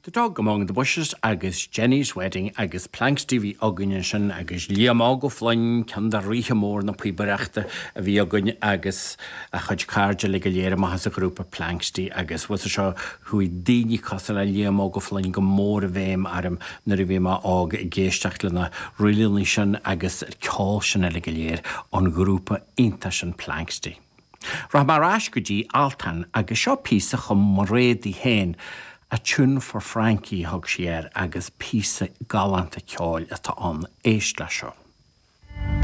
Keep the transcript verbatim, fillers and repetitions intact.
The Dog Among the Bushes agus Jenny's Wedding agus Planxty a bhí againn ansin agus Liam Óg Ó Floinn ceann de ríthe mór na píobaireachta a bhí againn agus a chuid cairde le go léir amach as a ghrúpa Planxty agus was seo chuaigh daoine cosúil le Liam Óg Ó Floinn go mór i bhfeidhm orm nuair a bhí mé óg ag éisteacht lena ríleanna sin agus ceol sin eile go léir an ghrúpa iontach sin Planxty. Rachaidh mé ar ais go dtí Altan agus seo píosa chum Mairéad í féin a tune for Frankie thug sí air agus píosa galánta ceoil atá ann éist le seo.